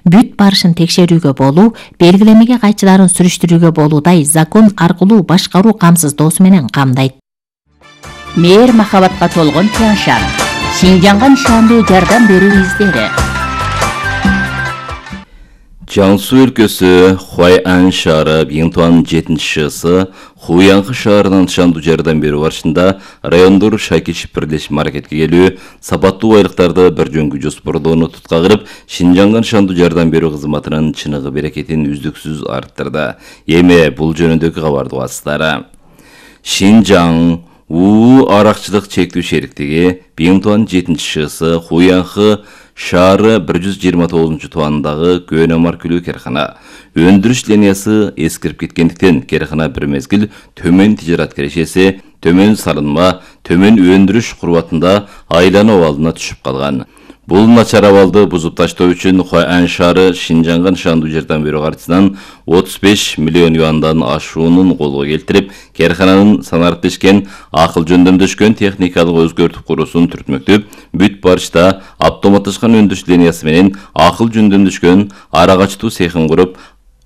бүт барышын текшерүүгө болуу, белгилемеге кайчыларын сүрүштүрүүгө болуудай закон аркылуу башкаруу камсыздоосу менен камдайт. Мээр махабатка толгон Тяньшан. Шинжаңга нышандуу жардам берүү издери. Jiangsu өлкөсү Хуайан шаары Бинтуан 7-шысы Хуянхы шаарынан нышандуу жардам берүү барышында райондор шайкешип бирлешип аракетке келүү, сапаттуу айлыктарды бир жөнгө жоспордоону тутка кырып, Шинжаңга нышандуу жардам берүү кызматынын чыныгы берекетин үздүксүз арттырды. Эми бул жөнүндөгү кабарды угасыздар. Шинжаң аракчылык чектүү шериктиги Бинтуан 7-шысы Хуянхы шаары 129 туандагы көөнө маркүлүү керкана. Өндүрүш линиясы эскирип кеткендиктен керкана бир мезгил төмөн тижарат кирешеси, төмөн салынма, төмөн өндүрүш курбатында айлануу абалына түшүп калган. Бул начар абалды бузуп таштоо үчүн Хуайан шаары Шинжаңга нышандуу жардам берүү картасынан 35 миллион юандан ашуунун колго келтирип, керкананын санариптешкен, акыл жөндөмдөшкөн техникалык өзгөртүп куруусун түртмөктөп, бүт барышта автоматташкан өндүрүш линиясы менен акыл жөндөмдөшкөн арагачтуу цехин куруп,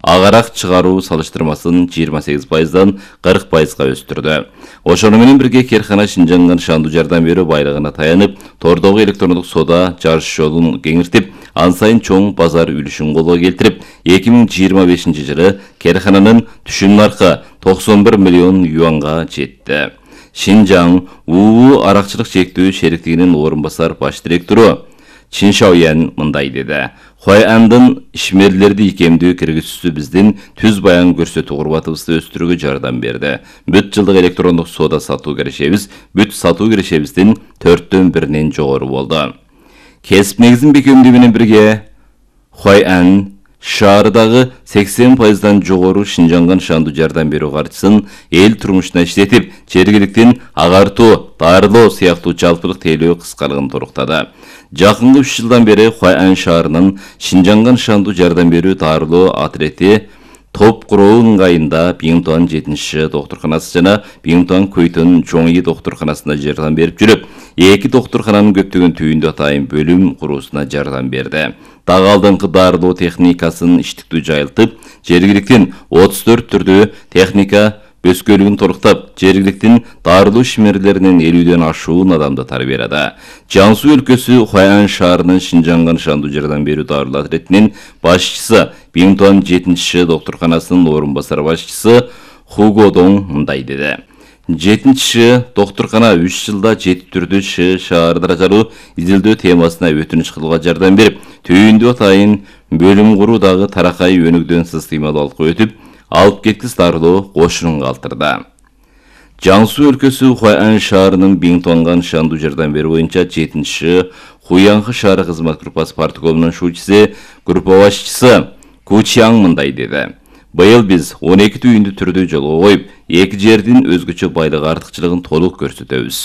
агарак чыгаруу салыштырмасын 28%дан 40%га өстүрдү. Ошону менен бирге керкана Шинжаңга нышандуу жардам берүү байлыгына таянып, тордогу электрондук соода жарыш жолун кеңиртип, ан сайын чоң базар үлүшүн колго келтирип, 2025-жылы керкананын түшүм наркы 91 миллион юанга жетти. Шинжаң аракчылык чектүү шериктигинин орун басар баш директору Чин Шаоян мындай деди. Хуайандын ишмерлерди икемдүү киргизүүсү биздин түз баян көрсөтүү курбатыбызды өстүрүүгө жардам берди. Бүт жылдык электрондук соода сатуу кирешебиз бүт сатуу кирешебиздин 4/1 жогору болду. Кесип негизин бекемдүү менен бирге Хуайан шаардагы 80%дан жогору Шинжаңга нышандуу жардам берүү каржысын эл турмушуна иштетип, жергиликтин агартуу, даарылоо сыяктуу жалпылык тейлөө кыскалыгын торуктады. Жакынкы 3 жылдан бери Хуайан шаарынын Шинжаңга нышандуу жардам берүү даарылоо отряди топ куруу ыңгайында Бинтуан 7-ші доктурканасы жана Бинтуан Көйтөн Жоңи доктурканасына жардам берип жүрүп, эки доктуркананын көптөгөн түйүндө атайын бөлүм куруусуна жардам берди. Дагы алдыңкы даарылоо техникасын иштиктүү жайылтып, жергиликтин 34 түрдүү техника өскөлүгүн торуктап, жергиликтин даарылоо ишмерлеринин 50ден ашуун адамды тарбиялады. Jiangsu өлкөсү Хуайан шаарынын Шинжаңга нышандуу жардам берүү даарылоо отрядынын башчысы Бинтуан 7-ші доктурканасынын орун басар башчысы Хугодоң мындай деди. 7-ші доктуркана 3 жылда 7 түрдүү шаар даражалуу изилдөө темасына өтүнүч кылууга жардам берип, түйүндүү атайын бөлүм куруудагы таракай өнүгдөн системалуу алкы өтүп, алып кеткис дарылоо кошунун калтырды. Jiangsu өлкөсү Хуайан шаарынын Бинтуанга нышандуу жардам берүү боюнча 7-ші Хуянхы шаары кызмат группасы парткомунун шуучусу, группа башчысы Ку Чиаң мындай деди. Быйыл биз 12 түйүндү түрдүү жолго коюп, эки жердин өзгөчө байлык артыкчылыгын толук көрсөтөбүз.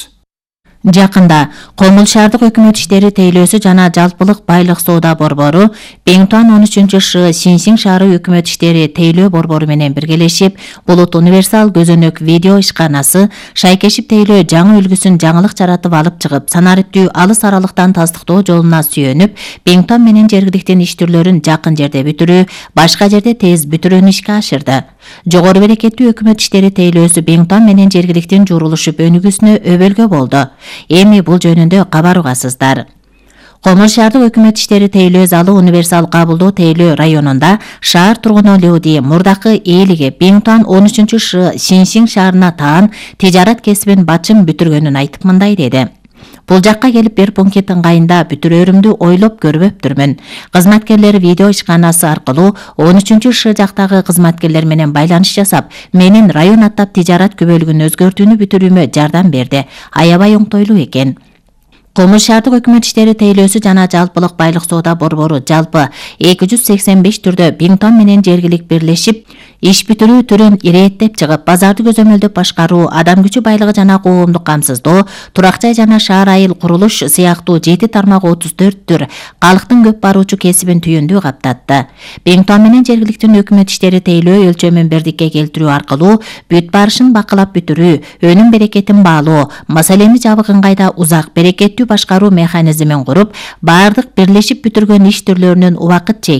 Жакында Комул шаардык өкмөт иштери тейлөөсү жана жалпылык байлык соода борбору Бинтуан 13-шы Синсиң шаары өкмөт иштери тейлөө борбору менен биргелешип, Булут универсал көзөнөк видео ишканасы шайкешип тейлөө жаңы үлгүсүн жаңылык жаратып алып чыгып, санариптүү алыс аралыктан тастыктоо жолуна сүйөнүп, Бинтуан менен жергиликтин иш түрлөрүн жакын жерде бүтүрүү, башка жерде тез бүтүрүүнү ишке ашырды. Жогору берекеттүү өкмөт иштери тейлөөсү Бинтуан менен жергиликтин журулушуп өнүгүүсүнө өбөлгө болду. Эми бул жөнүндө кабар угасыздар. Комул шаардык өкмөт иштери тейлөө залы универсал кабылдоо тейлөө районунда шаар тургуну Люди мурдакы ээлиги Бинтуан 13-ші Синсиң шаарына таан тижарат кесибин бачым бүтүргөнүн айтып мындай деди. Бул жакка келип бир пункт ыңгайында бүтүрөрүмдү ойлоп көрбөптүрмүн. Кызматкерлер видео ишканасы аркылуу 13-ші жактагы кызматкерлер менен байланыш жасап, менин район аттап тижарат күбөлүгүн өзгөртүүнү бүтүрүүмө жардам берди. Аябай оңтойлуу экен. Комул шаардык өкмөт иштери тейлөөсү жана жалпылык байлык соода борбору жалпы 285 түрдө Бинтуан менен жергилик бирлешип, иш бүтүрүү түрүн ирээттеп чыгып, базарды көзөмөлдөп башкаруу, адам күчү байлыгы жана коомдук камсыздоо, турак жай жана шаар айыл курулуш сыяктуу 7 тармак 34 түр калктын көп баруучу кесибин түйүндүү каптатты. Бенгтон менен жергиликтүү өкмөт иштери тейлөө өлчөмүн бирдикке келтирүү аркылуу бүт барышын бакылап бүтүрүү, өнүм берекетин баалоо, маселени жабык ыңгайда узак берекеттүү башкаруу механизмин куруп, бардык бирлешип бүтүргөн иш түрлөрүнүн убакытча